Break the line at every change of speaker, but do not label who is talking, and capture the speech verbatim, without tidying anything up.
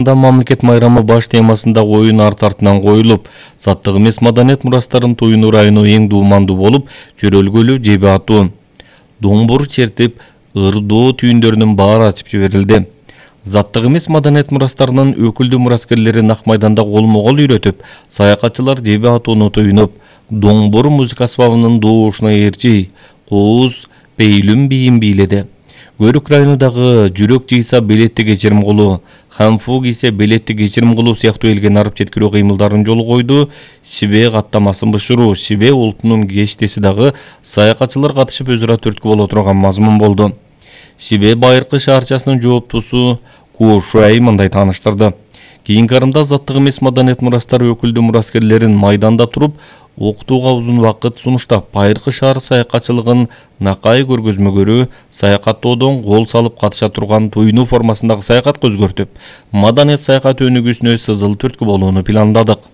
Мамлекет майрамы баш темасында оюн арт артынан коюлуп, заттык эмес маданият мурастарын туюну району эң дуумандуу болуп, чөрөлгөлү жеби атуу, доңбур чертип, ырдоо түйүндөрүнүн баары ачып жиберилди. Заттык эмес маданият мурастарынын өкүлдүү мураскерлери нак майданда колмо-кол үйрөтүп, саякатчылар жеби атууну туюнуп, доңбур музыка асбабынын доошуна ээрчи, кооз, пейлүм бийин бийледи. Көрүк районундагы жүрөк жыйса белетти кечирим кылуу, хамфу кийсе белетти кечирим кылуу сыяктуу элге нарып жеткирүү кыймылдарын жолу койду. Шибе каттамасын бышыруу, Шибе улутунун кештеси дагы саякатчылар катышып өз ара түрткү боло турган мазмун болду. Шибе Байыркы шаарчасынын жооптусу Куошуай мындай тааныштырды. Кийинки арымда заттык эмес маданият мурастары өкүлдүү мураскерлерин майданда туруп, окутууга узун вакыт сунуштап, Байыркы шаар саякатчылыгын накай көргөзмөгөрү, саякаттоодон кол салып катыша турган туюнуу формасындагы саякатка өзгөртүп, маданият саякаты өнүгүүсүнө сызыл түрткү болууну пландадык.